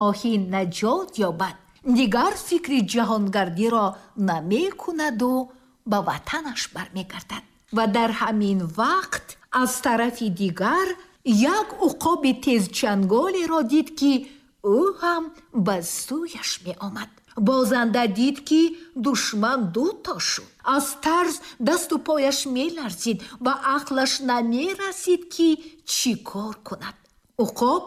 Шоҳин наҷот ёбад, дигар фикри ҷаҳонгардиро намекунаду ба ватанаш бармегардад. Ва дар ҳамин вақт аз тарафи дигар як уқоби тезчанголеро дид, ки ӯ ҳам ба сӯяш меомад. Бозанда дид, ки душман дуто шуд. Аз тарс дасту пояш меларзид ва ақлаш намерасид, ки чӣ кор кунад. Уқоб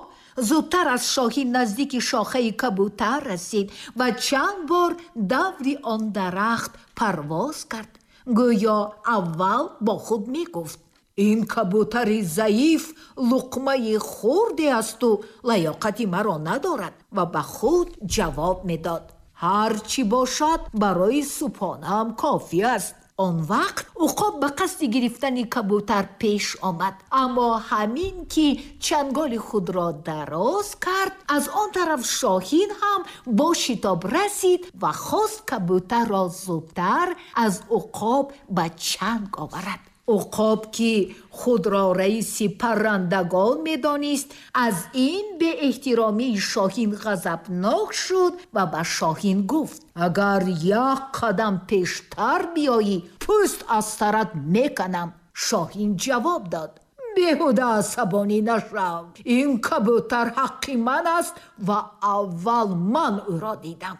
зудтар аз шоҳин наздики шохаи кабутар расид ва чанд бор даври он дарахт парвоз кард. Гӯё аввал бо худ мегуфт: ин кабутари заиф луқмаи хурде асту лаёқати маро надорад, ва ба худ ҷавоб медод: ҳар чӣ бошад, барои субҳонаам кофӣ аст. Он вақт уқоб ба қасди гирифтани кабутар пеш омад, аммо ҳамин ки чанголи худро дароз кард, аз он тараф шоҳин ҳам бо шитоб расид ва хост кабутарро зудтар аз уқоб ба чанг оварад. Уқоб, ки худро раиси паррандагон медонист, аз ин беэҳтиромии шоҳин ғазабнок шуд ва ба шоҳин гуфт: агар як қадам пештар биёӣ, пӯст аз сарат меканам. Шоҳин ҷавоб дод: беҳуда асабонӣ нашав, ин кабутар ҳаққи ман аст ва аввал ман ӯро дидам.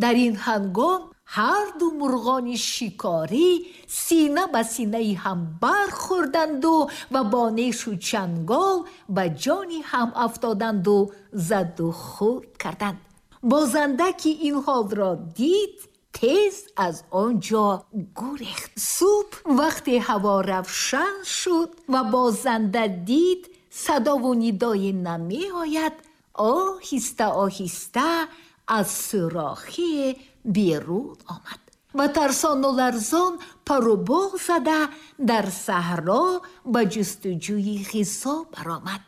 Дар ин ҳангом ҳар ду мурғони шикорӣ сина ба синаи ҳам бархӯрданду ва бо нешу чангол ба ҷони ҳам афтоданду заду хӯрд карданд. Бозанда, ки ин ҳолро дид, тез аз он ҷо гурехт. Субҳ вақте ҳаво равшан шуд ва бозанда дид садову нидое намеояд, оҳиста оҳиста аз сӯрохие берун омад ва тарсону ларзон пару бол зада дар саҳро ба ҷустуҷӯи ғизо баромад.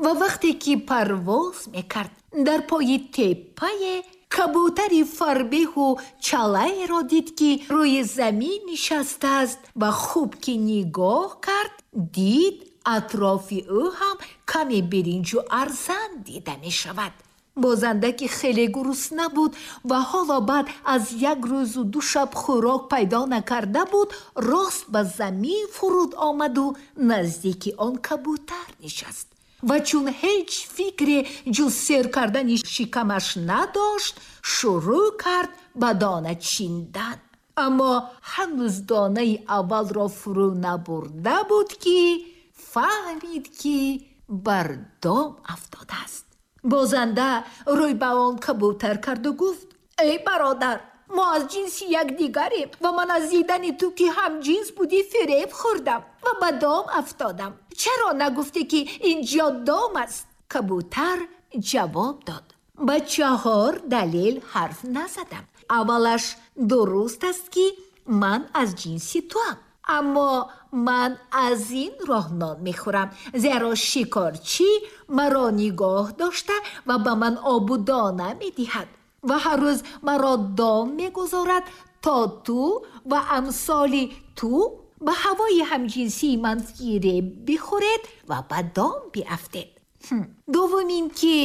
Ва вақте ки парвоз мекард, дар пои теппае кабутари фарбеҳу чалаеро дид, ки рӯи замин нишастааст, ва хуб ки нигоҳ кард, дид атрофи ӯ ҳам каме биринҷу арзан дида мешавад. Бозанда, ки хеле гурусна буд ва ҳоло баъд аз як рӯзу ду шаб хӯрок пайдо накарда буд, рост ба замин фуруд омаду наздики он кабутар нишаст. Ва чун ҳеҷ фикре ҷуз сер кардани шикамаш надошт, шурӯъ кард ба дона чиндан. Аммо ҳанӯз донаи аввалро фурӯ набурда буд, ки фаҳмид, ки бар дом афтодааст. Бозанда рӯй ба он кабутар карду гуфт: эй бародар, мо аз ҷинси якдигарем ва ман аз дидани ту, ки ҳамҷинс будӣ, фиреб хӯрдам ва ба дом афтодам. Чаро нагуфтӣ, ки ин ҷо дом аст? Кабутар ҷавоб дод: ба чаҳор далел ҳарф назадам. Аввалаш, дуруст аст, ки ман аз ҷинси туам, аммо ман аз ин роҳ нон мехӯрам, зеро шикорчӣ маро нигоҳ дошта ва ба ман обу дона медиҳад ва ҳар рӯз маро дом мегузорад, то ту ва амсоли ту ба ҳавои ҳамҷинсии ман фиреб бихӯред ва ба дом биафтед. Дуввум ин ки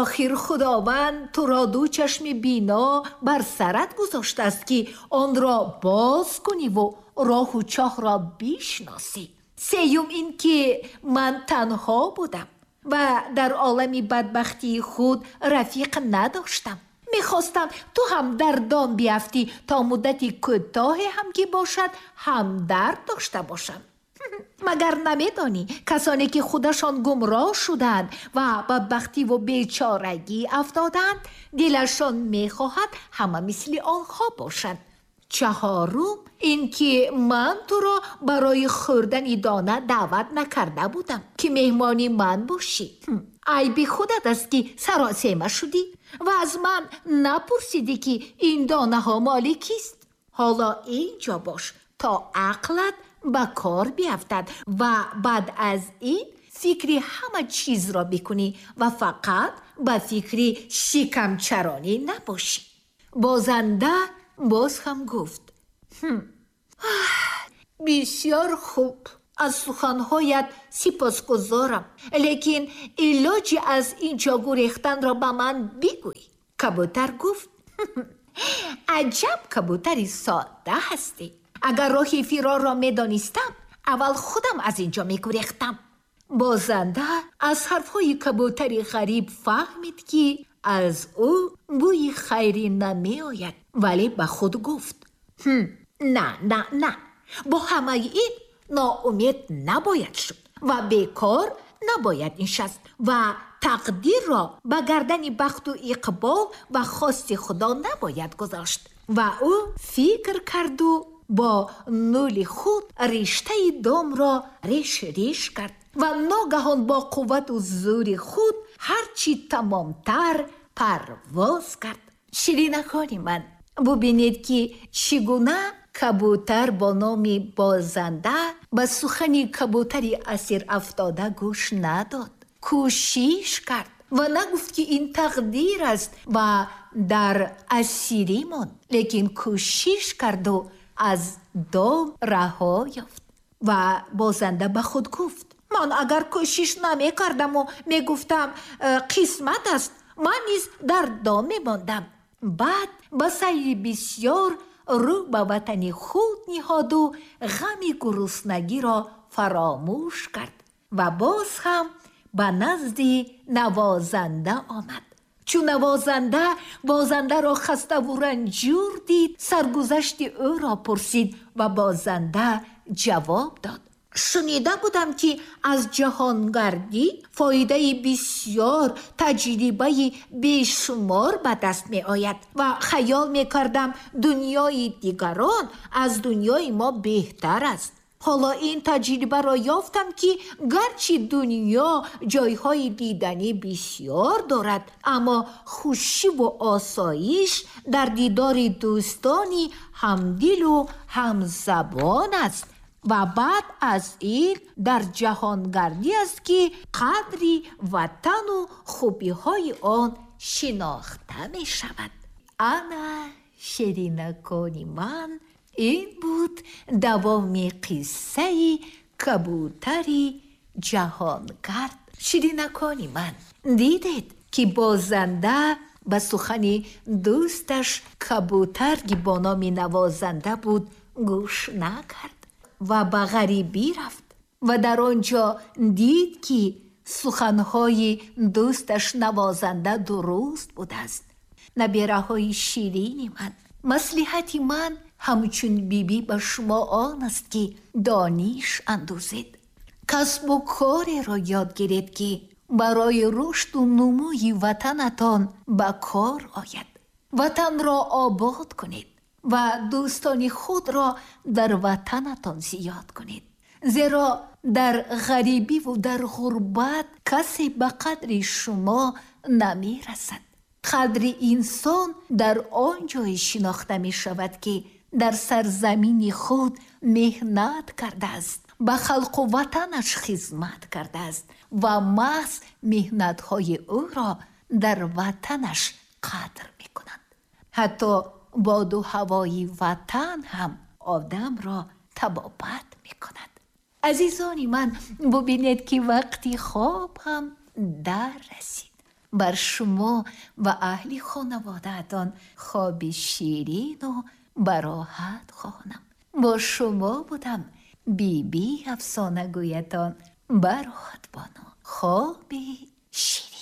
охир Худованд туро ду чашми бино бар сарат гузоштааст, ки онро боз куниву роҳу чоҳро бишносӣ. Сеюм ин ки ман танҳо будам ва дар олами бадбахтии худ рафиқ надоштам. Мехостам ту ҳам дар дом биафтӣ, то муддати кӯтоҳе ҳам ки бошад, ҳамдард дошта бошам. Магар намедонӣ, касоне ки худашон гумроҳ шудаанд ва бадбахтиву бечорагӣ афтодаанд, дилашон мехоҳад ҳама мисли онҳо бошанд. Чаҳорум ин ки ман туро барои хӯрдани дона даъват накарда будам, ки меҳмони ман бошӣ. Айби худат аст, ки саросема шудӣ ва аз ман напурсидӣ, ки ин донаҳо моли кист. Ҳоло ин ҷо бош, то ақлат ба кор биафтад ва баъд аз ин фикри ҳама чизро бикунӣ ва фақат ба фикри шикамчаронӣ набошӣ. Бозанда боз ҳам гуфт: бисёр хуб, Аз суханҳоят сипосгузорам, лекин илоҷи аз ин ҷо гурехтанро ба ман бигӯй. Кабутар гуфт: Аҷаб кабутари содда ҳастӣ! Агар роҳи фирорро медонистам, аввал худам аз ин ҷо мегурехтам. Бозанда аз ҳарфҳои кабутари ғариб фаҳмид, ки аз ӯ бӯи хайрӣ намеояд, вале ба худ гуфт: На, на, на, бо ҳамаи ин ноумед набояд шуд ва бекор набояд нишаст ва тақдирро ба гардани бахту иқбол ва хости Худо набояд гузошт. Ва ӯ фикр карду бо нӯли худ риштаи домро реш реш кард ва ногаҳон бо қуввату зӯри худ ҳарчи тамомтар парвоз кард. Ширинакони ман, бубинед, ки чӣ гуна кабутар бо номи Бозанда ба сухани кабутари асир афтода гӯш надод, кӯшиш кард ва нагуфт, ки ин тақдир аст ва дар асирӣ монд, лекин кӯшиш карду аз дом раҳо ёфт. Ва бозанда ба худ гуфт: Ман агар кӯшиш намекардаму мегуфтам, қисмат аст, ман низ дар дом мемондам. Баъд ба сайри бисьёр рӯ ба ватани худ ниҳоду ғами гуруснагиро фаромӯш кард ва боз ҳам ба назди навозанда омад. Чун навозанда бозандаро хаставу ранҷур дид, саргузашти ӯро пурсид ва бозанда ҷавоб дод: Шунида будам, ки аз ҷаҳонгардӣ фоидаи бисьёр, таҷрибаи бешумор ба даст меояд ва хаёл мекардам, дунёи дигарон аз дунёи мо беҳтар аст. Ҳоло ин таҷрибаро ёфтам, ки гарчи дунё ҷойҳои диданӣ бисьёр дорад, аммо хушиву осоиш дар дидори дӯстони ҳамдилу ҳамзабон аст ва баъд аз ин дар ҷаҳонгардӣ аст, ки қадри ватану хубиҳои он шинохта мешавад. Ана, ширинакони ман, ин буд давоми қиссаи кабутари ҷаҳонгард. Ширинакони ман, дидед, ки бозанда ба сухани дӯсташ кабутар, ки бо номи Навозанда буд, гӯш накард ва ба ғарибӣ рафт ва дар он ҷо дид, ки суханҳои дӯсташ Навозанда дуруст будааст. Набераҳои ширини ман, маслиҳати ман ҳамчун бибӣ ба шумо он аст, ки дониш андӯзед, касбу кореро ёд гиред, ки барои рушду нумӯи ватанатон ба кор ояд. Ватанро обод кунед ва дӯстони худро дар ватанатон зиёд кунед, зеро дар ғарибиву дар ғурбат касе ба қадри шумо намерасад. Қадри инсон дар он ҷое шинохта мешавад, ки дар сарзамини худ меҳнат кардааст, ба халқу ватанаш хизмат кардааст ва маҳз меҳнатҳои ӯро дар ватанаш қадр мекунанд. Ҳатто боду ҳавои ватан ҳам одамро табобат мекунад. Азизони ман, бубинед, ки вақти хоб ҳам дар расид. Бар шумо ва аҳли хонаводаатон хоби ширину бароҳат хоҳонам. Бо шумо будам Биби Афсонагӯятон, Бароҳат бону, хоби ширин.